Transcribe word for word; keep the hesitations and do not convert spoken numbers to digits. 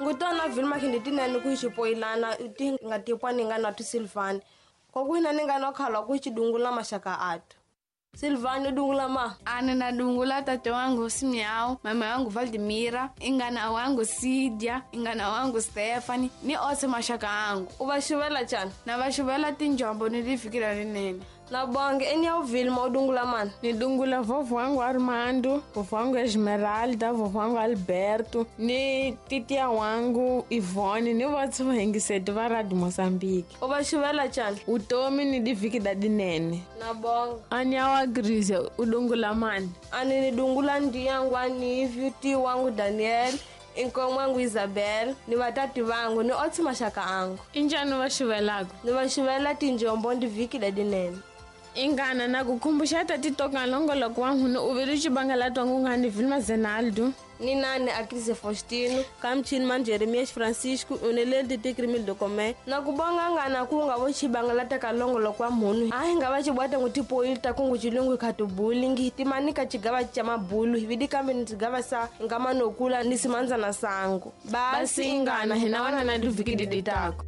Ngutona Vilma khinditinene ku xipoyilana ti nga tipwa ni nga na tu Silvani. Kokuhina ni nga no khalwa ku xidungula maxaka atu. Silvani dungula ma. Ana na dungula tate wangu Simiao, mama wangu Valdemira, ingana wangu Sidia, ingana wangu Stephanie, ni ose maxaka angu. U va xuvela njhani? Na va xuvela tinjombo ni lifikira rinene. Na bonge eni ya Vilma u dungula mani? Ni dungula vovho wangu Armando, vovho wangu Esmeralda, vovho wangu Alberto, ni titia wangu Ivone, ni votse vahingiseti va Radio Mozambique. U va xuvela njhani? Utomi ni divhiki da dinene. Na bonge. Ani ya wa Grise u dungula mani? Ani ni dungula ndiyangu ani vyuti wangu Daniel, inkomu wangu Isabel, ni vatati vangu ni otsi maxaka angu. I njhani va xuvelaka? Ni va xuvela tinjombo ndi vhiki da dinene. Ingana na ku khumbuxa tati toka longoloko wa nhunu u vile xibangela twangu nga ni Vilma Zenaldo. Ni nani Akrise Faustino, kamchini man Jeremias Francisco, unelele titikrimil dokome. Na ku bonga ngana ku nga vo xibangela ta longoloko wa mhunu. A hi nga va xibwata ngu tipoyili ta kungu xilungu khatubuli ngi timani ka xigava xa mabulu vidi kambe ni xigava sa nga manokula ni simandzana sangu. Basi ingana hina wana na divhiki diditako.